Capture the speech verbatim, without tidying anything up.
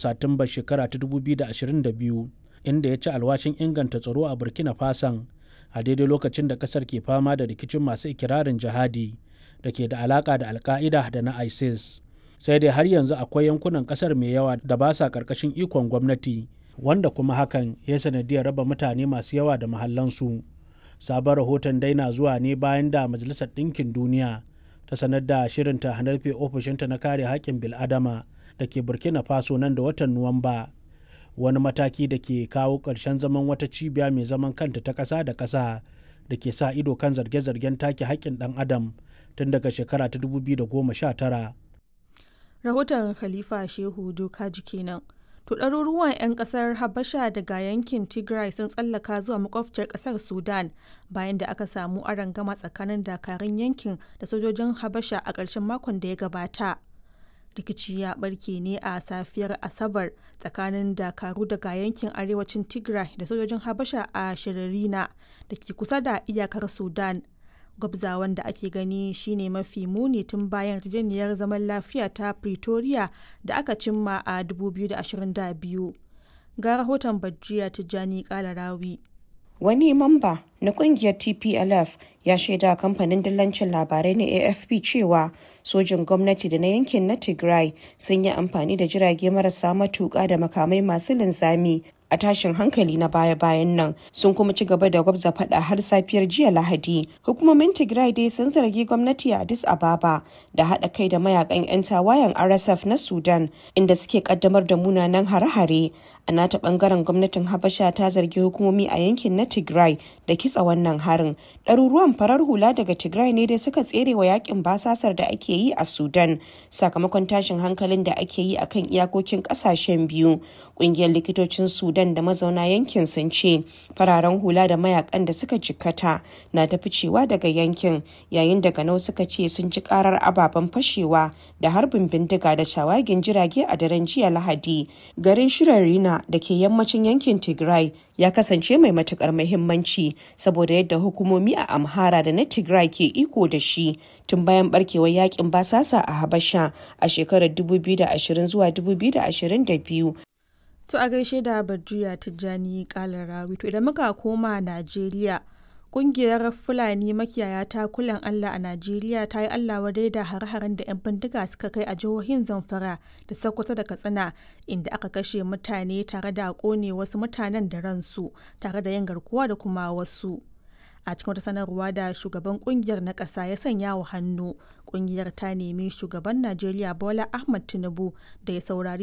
Satumbar shekara ta dubu biyu da ashirin da biyu, inda ya ci alwashin inganta tsaro a Burkina Fason a daidai lokacin da kasar ke fama da rikicin masu ikirarin jihadi da ke da alaka da Al-Qaeda da na ISIS. Sai dai har yanzu akwai yankunan kasar mai yawa da ba sa karkashin ikon gwamnati, wanda kuma hakan ya sanadiyar raba mutane masu yawa da mahallansu. Sabon rahoton dai na zuwa ne bayan da Majalisar Ɗinkin Duniya ta sanar da shirinta na rufe ofishinta na kare haƙƙin bil'adama da ke Burkina Faso nan da watan Nuwamba, wani mataki da ke kawo ƙarshen zaman wata cibiya mai zaman kanta ta ƙasa da ƙasa da ke sa ido kan zarge-zargen take haƙƙin ɗan adam tun daga shekara ta dubu biyu da goma sha tara. Rahoton Khalifa Shehu Dokaji kenan. To, ɗaruruwan 'yan ƙasar Habasha daga yankin Tigray sun tsallaka zuwa makwabciyar ƙasar Sudan bayan da aka samu arangama tsakanin dakarun yankin da sojojin Habasha a ƙarshen makon da ya gabata. Rikici ya barke ne a safiyar Asabar tsakanin dakaru daga yankin arewacin Tigray da sojojin Habasha a Shiririna da ke kusa da iyakar Sudan. Gwabzawan da ake gani shine mafi muni tun bayan yarjejeniyar zaman lafiya ta Pretoria da aka cimma a dubu biyu da ashirin da biyu. Ga rahoton Badriya Tijjani Kalarawi. Wani mamba na kungiyar T P L F ya shaida kamfanin dillancin labarai na A F P cewa sojin gwamnati da na yankin na Tigray sun yi amfani da jirage marasa matuƙa da makamai masu linzami a tashin hankali na baya-bayan nan, sun kuma ci gaba da gwabza fada har safiyar jiya Lahadi. Hukumomin Tigray dai sun zargi gwamnati a Addis Ababa da haɗa kai da mayakan 'yan tawayen R S F na Sudan, inda suke kaddamar da munanan hare-hare. A nata bangaren, gwamnatin Habasha ta zargi hukumomi a yankin na Tigray da kitsa wannan harin. Ɗaruruwan farar hula daga Tigray ne dai suka tsere wa yakin basasar da ake yi a Sudan sakamakon tashin hankalin da ake yi akan iyakokin ƙasashen biyu. Ƙungiyar likitocin Sudan da mazauna yankin sun ce fararen hula da mayakan da suka jikkata na ta ficewa daga yankin, yayin da ganau suka ce sun ji karar ababen fashewa da harbin bindiga da shawagin jirage a daren jiya Lahadi. Garin Shirarina da ke yammacin yankin Tigray ya kasance mai matukar muhimmanci saboda yadda hukumomi a Amhara da na Tigray ke iko da shi tun bayan barkewar yakin basasa a Habasha a shekarar dubu biyu da ashirin zuwa dubu biyu da ashirin da biyu. To, a gaishe da Badriya Tijjani Kalarawi. To, idan muka koma Najeriya, kungiyar Fulani makiyaya ta kulan Allah a Najeriya ta yi Allah wadai da hare-haren da 'yan bindiga suka kai a jihohin Zamfara da Sokoto da Katsina, inda aka kashe mutane tare da kone wasu mutanen da ransu tare da yin garkuwa da kuma wasu. A cikin wata sanarwa da shugaban kungiyar na ƙasa ya sanya wa hannu, kungiyar ta nemi shugaban Najeriya Bola Ahmad Tinubu da ya saurari